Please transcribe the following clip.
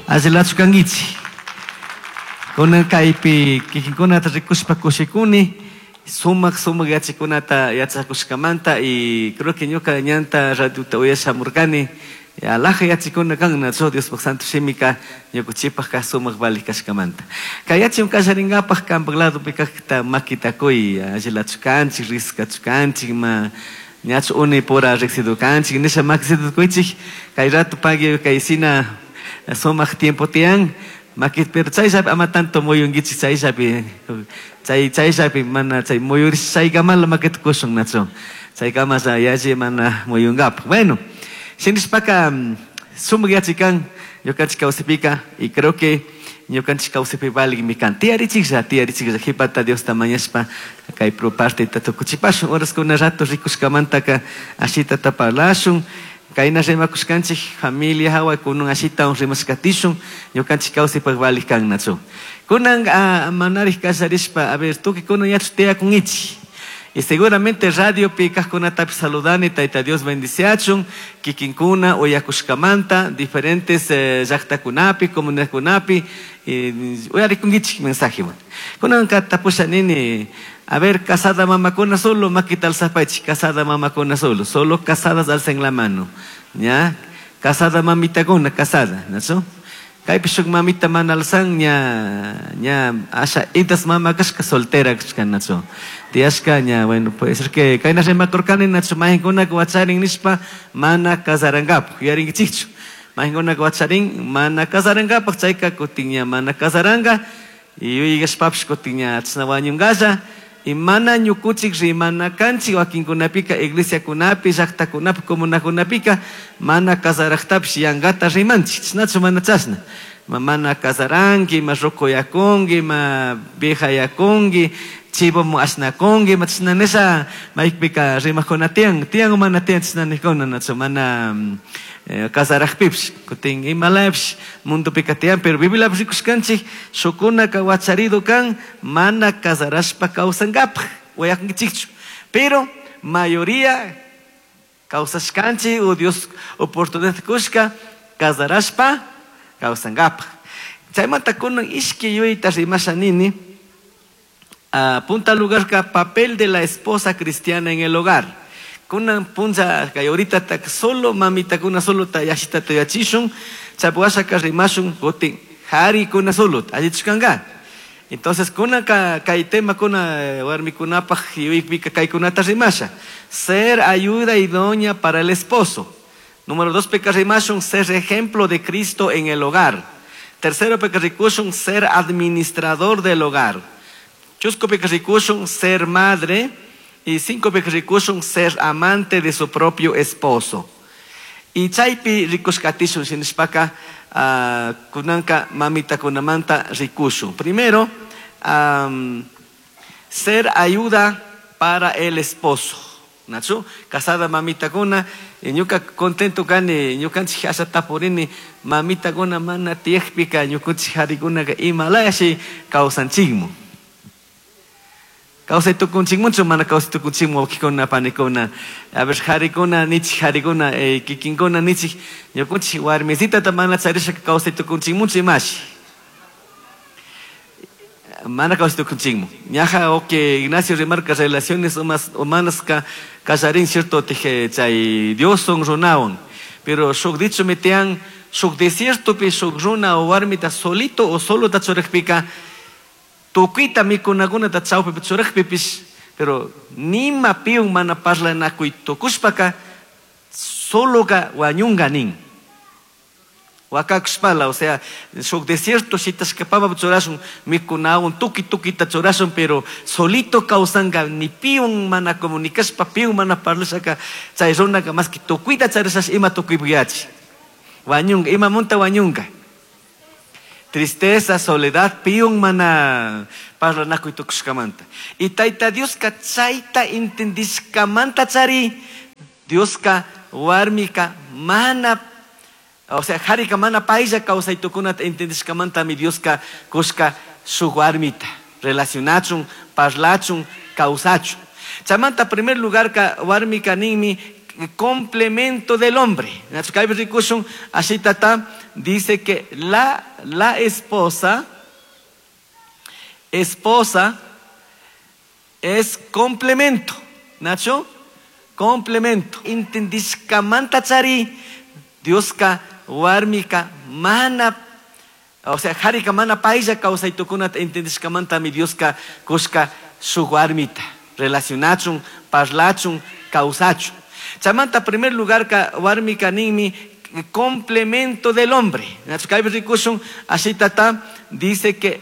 Allilachu kankichik. Kunan kaypi kikinkunata rikushpa kushikuni, sumak sumak yachakunata yachakushkamanta y creo que ñuka ñanta radiota uyashamurkani alaja yachikuna kan nachu Diospaj santo shimika ñukuchipajka sumak valik kashkamanta. Kay yachim kallarinkapak kanpak ladopi kakta makita kuy, allilachu kanchik, riskachu kanchik, ma ñachu unipura riksidu kanchik, nisha makisitu kuychik, kay rato pagui kay sina sumak tiempo tiyan, makit pero chayllapi ama tanto muyunkichik chayllapi, chay chayllapi mana chay muyurish chaykamala makita kushun nachu, chaykamalla yalli mana muyunkapak. Bueno, shinishpaka sumak yachikan ñukanchik kawsaypika y creo que ñukanchik kawsaypi valikmi kan. Tiyarichiklla, tiyarichiklla, qhipata Diosta mañashpa kay pro parteta tukuchipashun, horaskuna rato rikushkamantaka ashitata parlashun, kayna rimakushkanchik familia hawa kunan ashitawan rimashkatishun, ñukanchik kawsaypaq valik kan nachu. Kunan manarij kasharishpa, a ver, tukuy kunan yachu tiyakunkichik. Y seguramente radiopi kajkunatapish saludani, Tayta Dios bendiciachun, kikinkuna uyakushkamanta, diferentes llaqtakunapi, comunidadkunapi, uyarikunkichik mensajewan. Kunanka tapusha nini, a ver, casada mamakuna solo, makita alzapaychik, casada mamakuna solo, solo casadas alcen la mano, ¿ya? Casada mamitakuna, casada, ¿no? Kaypi shuk mamita mana alzan, ña, ña, asha, itas mama kashka soltera kashka, nacho. Tiyashka, ña, bueno, puede ser que kayna rimakurkani, nacho, mahinkuna wacharin nishpa, mana kasarankapak, yuyarinkichikchu. Mahinkuna wacharin, mana kasarankapak, chayka kutin ña mana kasaranka, y yuyashpapish kutin ña chashna wañunkalla, y mana ñukuchik rimana kanchik, wakinkunapika, iglesiakunapi, llaqtakunapi, comunakunapika, mana kasarajtapish yankata rimanchik, chashnachu mana chashna. Ma mana kasaranki, ma rukuyakunki, ma viejayakunki, chivomu ashnakunki, ma chashna nisha, maypika rimakuna tiyan, tiyan o mana tiyan chashna nijkuna, nachu, mana kasarajpipish, kutin imalapish mundupika tiyan, pero Bibliapish rikushkanchik, shukunaka wacharido kan, mana kasarashpa kawsankapaj, uyakunkichikchu. Pero mayoría kawsashkanchik, o Dios oportunidad kushka, kasarashpa kawsankapaj. Chaymanta kunan ishki yuyayta rimasha nini, punta lugarka papel de la esposa cristiana en el hogar. Kunan puncha kay ahorita tak solo mamita kuna solo ta yashita ta yachishun, chapwashaka rimashun kutin hari kuna solo, allichushkanka. Entonces kuna ka, kay tema kuna warmikunapaj yuypika kay kunata rimasha. Ser ayuda idónea para el esposo. Número 2, peka rimashun, ser ejemplo de Cristo en el hogar. Tercero, peka rikushun, ser administrador del hogar. Chusco peka rikushun, ser madre. Y 5, peka rikushun, ser amante de su propio esposo. Y chaypi rikushkatishun, shinishpaka, kunanka mamita kunamanta rikushun. Primero, ser ayuda para el esposo. Nachu, casada mamita kuna, y ñuka contento kani, ñukanchik asha tapurini, mamita kuna mana tiyakpika, ñukunchik harikunaka imalayashi kawsanchikmu. Kawsay tukunchikmunchu, mana kawsay tukunchikmu, wawqikuna, panikuna. A ver, harikuna, nichik, harikuna, kikinkuna, nichik, ñukunchik warmisitata mana charishaka kawsay tukunchikmunchu imashi. Mana kawsay tukunchikmu. Ñaja, ok, Ignacio remarca relaciones humanas ka kallarin, cierto, teje, chay Dios son runawan. Pero shuk dicho metean, shuk desierto pi, shuk runa o warmita solito o solo ta churajpika, tukuyta mikunakunata chawpipi churajpipish, pero nima piun mana parlanakuy tukushpaka, soloka wañunga nin. Wakakushpala, o sea, shuk desierto shitashkapama churashun, mikunawan tuki tukita churashun, pero solito kawsanka, ni piun mana comunicashpa, piun mana parlashaka, chay runaka más que tukuyta charishash ima tukuypuyachi. Wañunga, ima munta wañunga. Tristeza, soledad, piun mana parlanakuy tukushkamanta. Y Tayta Dioska chayta entendishkamanta chari, Dioska warmika mana, o sea, harika mana paylla kawsay tukunata entendishkamanta mi Dioska kushka shuk warmita, relacionachun, parlachun, kawsachun. Chaymanta primer lugar ka warmika ninmi, Complemento del hombre. Así dice que la, la esposa, esposa es complemento. Nacho, complemento. Intendishkamanta chari, Dioska warmika mana, o sea, harika mana paisa kawsaytukunata intendishkamantami Dioska kushka shuk warmita relacionachun, parlachun, kawsachun. Chaymanta primer lugar ka warmika ninmi complemento del hombre. Nacho kaypi rikushun así tata dice que.